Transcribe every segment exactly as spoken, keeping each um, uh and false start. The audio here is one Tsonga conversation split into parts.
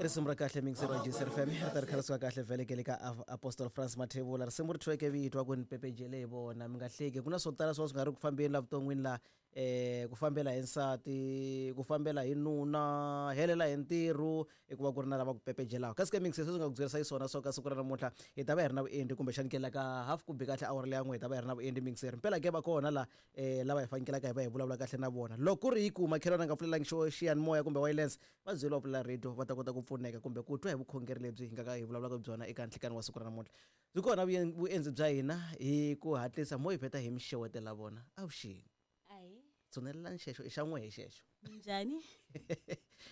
Risimu ra kahle mingiseri wa G C F M ri ta ri kha ri suka kahle vhele ke le ka Apostle France Mathebula. Risimu ri thyiweke vito wa ku ni pepejele hi vona, mi nga hleki. Ku na swo tala swo swi nga ri ku fambeni la vuton'wini la, eh ku fambela hi nsati, ku fambela hi nuna, helela hi ntirho, i ku va ku ri na lava ku pepejelaka. Kasi ke mingiseri sweswi nga ku byerisa xiswona swo ka siku ra namuntlha hi ta va hi ri na vuendli, kumbexani ke la ka half ku bi kahle awara leya n'we hi ta va hi ri na vuendli mingiseri. Mpela ke va kona la, eh lava hi fanekelaka hi va hi vulavula kahle na vona. Loko ku ri hi ku makhelwani a nga pfulelangi xo xiyanimoya kumbe wireless, va byeriwa pfulela radio va ta kota ku pfuneka kumbe ku twa hi vukhongeri lebyi hi nga ka hi vulavulaka byona eka nhlikani wa siku ra namuntlha. Byi kona vuendzi bya hina hi ku hatlisa mo hi vheta hi mi xewetela vona. Avuxeni. Ahi. Tshunelelani xexo i xa n'we hi xexo. Minjhani?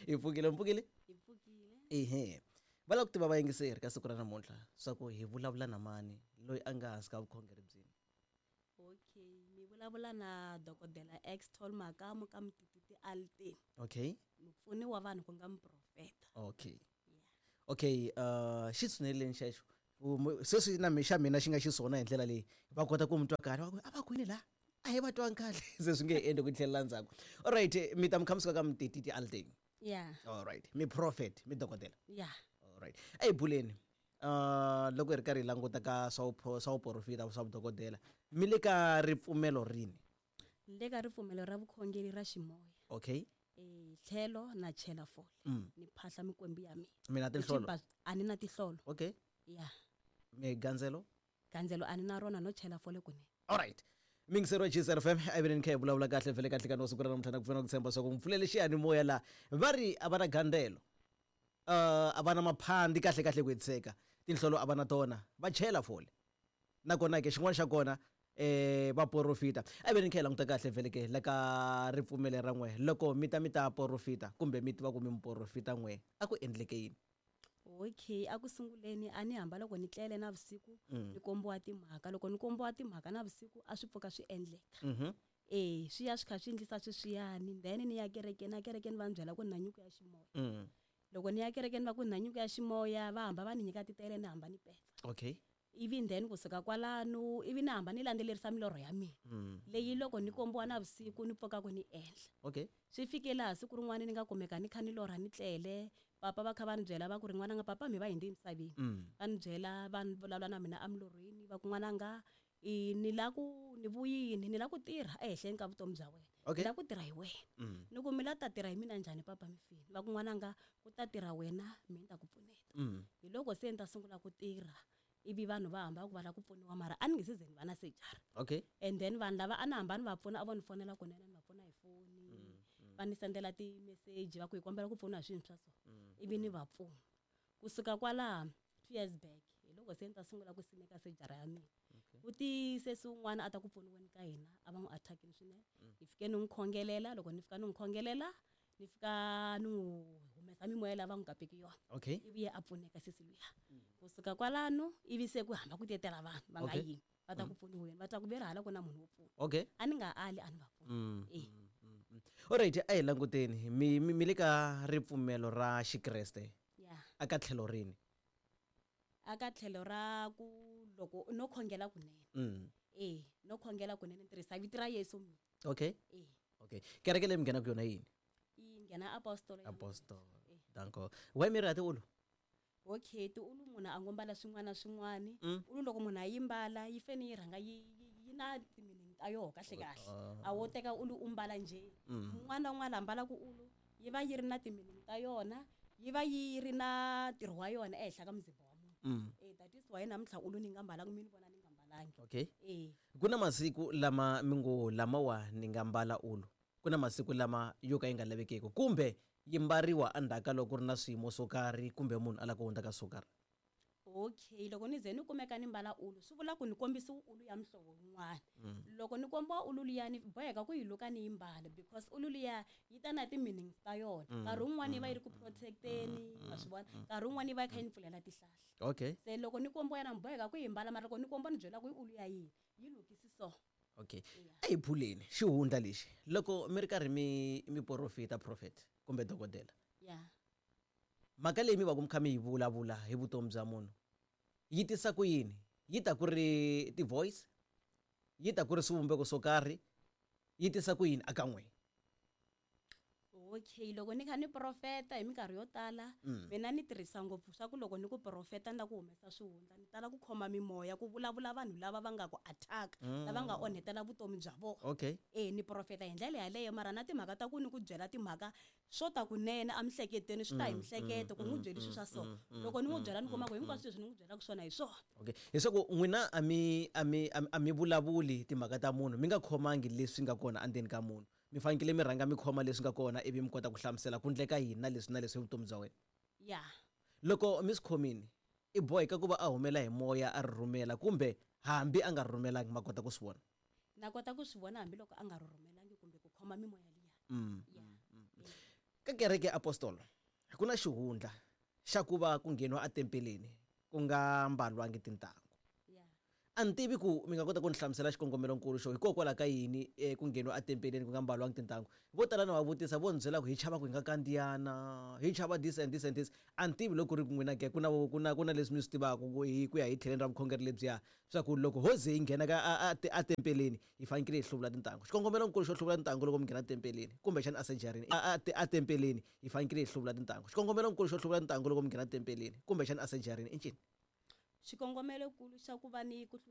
Hi pfukile, mi pfukile? Hi pfukile. Ehe. Va lava ku tiva vayingiseri ka siku ra namuntlha swa ku hi vulavula na mani loyi a nga hansi ka vukhongeri byini. Okay, mi vulavula na dokodela Extol Makamu ka Mtititi Alteni. Okay. Mupfuni wa vanhu ku nga muprofeta. Okay. Yeah. Okay, uh xi tshuneleni xexo. Sweswi na mi xa mina xi nga xiswona hi ndlela leyi va kota ku mi twa kahle, va ku a va kwini la? A hi va twangi kahle. Se swi nge endli ku tlhelela ndzhaku. All right, mi ta mi kha mi suka ka Mtititi Alteni. Yeah. All right, mi prophet, mi dokodela. Yeah. All right. A hi buleni. Uh loko hi ri karhi hi languta ka swa swa vuprofeta swa vudokodela, mi le ka ripfumelo rini? Ni le ka ripfumelo ra vukhongeri ra ximoya. Okay. Eh tlhelo na chela fole. Mm. Ni phahla mikwembu ya mina. Mina tinhlolo? A ni na tinhlolo. Okay. Yeah. Mi gandzelo? Gandzelo a ni na rona, no chela fole kunene. All right. Mingiseri wa G C F M a vi ni kha hi vulavula kahle vhele kahle ka no siku ra namuntlha na ku pfuna ku tshemba swa ku mi pfulele xiyanimoya la va ri a va na gandzelo. Uh a va na maphandi kahle kahle ku hetiseka. Tinhlolo a va na tona, va chela fole. Nakona ke xin'wana xa kona eh va porofita. A vi ni kha hi languta kahle vhele ke la ka ripfumelo ra n'we. Loko mi ta mi ta porofita kumbe mi tiva ku mi muporofita n'we, a ku endleke yini? Okay, a ku sunguleni a ni hamba loko ni tlele na vusiku, Mm. ni kombiwa timhaka. Loko ni kombiwa timhaka na vusiku a swi pfuka swi endleka. Mhm. Eh, swi ya swi kha swi endlisa sweswiyani, then ni ya kerekeni, na kerekeni va ni byela ku ni na nyiko ya ximoya. Mm. Loko ni ya kerekeni va ku ni na nyiko ya ximoya, va hamba va ni nyika titele ni hamba ni petsa. Okay. Ivi then kusuka kwalano, ivi ni hamba ni landzelerisa milorho ya mina. Mm. Leyi loko ni kombiwa na vusiku ni pfuka ku ni endla. Okay. Swi fike laha siku rin'wana ni nga kumeka ni kha ni lorha ni tlele, papa va kha va ni byela va ku ri n'wananga papa mi va hindzi emisaveni. Mm. Va ni byela va ni vulavula na mina emilorhweni va ku n'wananga i ni la ku ni vuyini, ni la ku tirha ehenhleni ka vutomi bya wena. Okay. Ni la ku tirha hi wena. Mm. Ni ku mi la ta tirha hi mina njhani papa mi fini? Va ku n'wananga ku ta tirha wena mina ni ta ku pfuneta. Mm. Hi loko se ni ta sungula ku tirha, ivi vanhu va hamba ku va lava ku pfuniwa mara a ni nge se ze ni va na surgery. Okay. And then vanhu lava a ni hamba ni va pfuna a vo ni fonela kunene ni va pfuna hi foni. Mm, mm. Va ni sendela ti-message va ku hi kombela ku pfuniwa hi swilo swa so. Mm. Ivi ni va pfuna. Kusuka kwalaho two years back hi loko se ni ta sungula ku simeka surgery ya mina. Okay. Ku ti sesi un'wana a ta ku pfuniweni ka hina a va n'wi attack-ini swinene. Mm. Hi fike ni n'wi khongelela, loko ni fika ni n'wi khongelela ni fika ni n'wi humesa mimoya leyi va n'wi kapeke yona. Okay. Ivi ye a pfuneka sesi luya. Mm. Kusuka kwalano ivi se ku hamba ku tetela vanhu va nga Okay. yimi va ta Mm. ku pfuniweni, va twa ku ve ri hala ku na munhu wo pfuna. Okay. A ni nga ali a ni va pfuna. Mm, Eh. mm, mm, mm. Alright, a hi languteni mi, mi, mi le ka ripfumelo ra Xikreste. Yeah. A ka tlhelo rini? A ka tlhelo ra ku loko no khongela kunene. Mm. Eh, no khongela kunene ni tirhisa vito ra Yesu mina. Okay. Eh. Okay. Kereke leyi mi nghenaka yona yini? Yi nghena Apostolo ya Apostolo. Eh. Danko. Why mi ri ha tiulu? Okay, tiulu munhu a ngo mbala swin'wana na swin'wana. Mm. Ulu loko munhu a yi mbala yi fanele yi rhanga yi, yi, yi na ti-meaning ta yoho kahle kahle. Ah. A wo teka ulu u mbala njhe. Mm. Un'wana na un'wana a mbalaka ulu yi va yi ri na ti-meaning ta yona, yi va yi ri na ntirho wa yona ehenhla ka muzimba wa munhu. Mm. Eh, that is why namuntlha ulu ni nga mbalangi, mi ni vona ni nga mbalangi. Okay. Eh. Ku na masiku lama mi ngo lamawa ni nga mbala ulu. Ku na masiku lama yo ka yi nga lavekeki kumbe yi mbariwa endzhaku ka loko ku ri na swiyimo swo karhi kumbe munhu a lava ku hundza ka swo karhi. Okay, loko ni ze ni kumeka ni mbala ulu swi vula ku ni kombisiwa ulu ya muhlovo wun'wana. Mm. Loko ni kombiwa ulu liya ni boheka ku yi luka ni yi mbala because ulu liya yi ta na ti-meanings ta yona. Mm. Nkarhi wun'wana yi va yi ri ku Mm. protect-eni, Mm. wa swi vona. Mm. Nkarhi wun'wana yi va yi kha yi ni pfulela tihlahla. Okay. Se loko ni kombiwa yona ni boheka ku yi mbala, mara loko ni kombiwa ni byela ku i ulu ya yini, yi lukisi so. Okay. Yeah. A hi buleni xihundla lexi loko mi ri karhi mi mi porofita prophet kumbe dokodela. Yeah. Mhaka leyi mi va ku mi kha mi yi vulavula hi vutomi bya munhu yi tisa ku yini? Yi ta ku ri ti-voice, yi ta ku ri swivumbeko swo karhi, yi tisa ku yini aka n'we? Okay, loko ni kha ni profeta hi minkarhi yo tala, Mm. mina ni tirhisa ngopfu swa ku loko ni ku profeta ni la ku humesa swihundla, ni tala ku khoma mimoya ku vulavula vanhu lava va nga ku attack, lava nga onhetela vutomi bya vona. Okay. E ni profeta hi ndlela yaleyo, mara na timhaka ta ku ni ku byela timhaka swo ta kunene emihleketweni, swi ta hi mihleketo ku n'wi byeli swilo swa so. Loko ni n'wi byela, ni kuma ku hinkwaswo leswi ni n'wi byelaka swona hi swona. Okay, leswaku n'wina a mi a mi a mi- a mi vulavuli timhaka ta munhu mi nga khomangi leswi nga kona endzeni ka munhu. Mi fanekele mi rhanga mi khoma leswi nga kona, ivi mi kota ku hlamusela ku ndleka yini na leswi na leswi hi vutomi bya wena. Ya. Loko mi swi khomini, i boheka ku va a humela hi moya, a ri rhumela, kumbe hambi a nga ri rhumelangi ma kota ku swi vona? Na kota ku swi vona hambiloko a nga ri rhumelangi kumbe ku khoma mimoya liya. Mm. Ya. Ka kereke ya apostolo ku na xihundla xa ku va ku ngheniwa etempeleni ku nga mbalwangi tintangu. Ya. A ni tivi ku mi nga kota ku ni hlamusela xikongomelonkulu xo hikokwalaho ka yini eh, ku ngheniwa etempeleni ku nga mbalwangi tintangu. Vo tala na va vutisa, vo ni byela ku hi chava ku hi nga kandziyana, hi chava this and this and this. A ni tivi loko ku ri ku n'wina ke ku na ku na ku na leswi mi swi tivaka ku hi ku ya hi tlheleni ra vukhongeri lebyiya, swa ku loko ho ze hi nghena ka a- a- a tempeleni hi fanekele hi hluvula tintangu. Xikongomelonkulu xo hluvula tintangu loko mi nghena tempeleni kumbexana esejarini, a- a- a tempeleni hi fanekele hi hluvula tintangu, xikongomelonkulu xo hluvula tintangu loko mi nghena tempeleni kumbexana esejarini i ncini? Xikongomelokulu xa ku va ni ku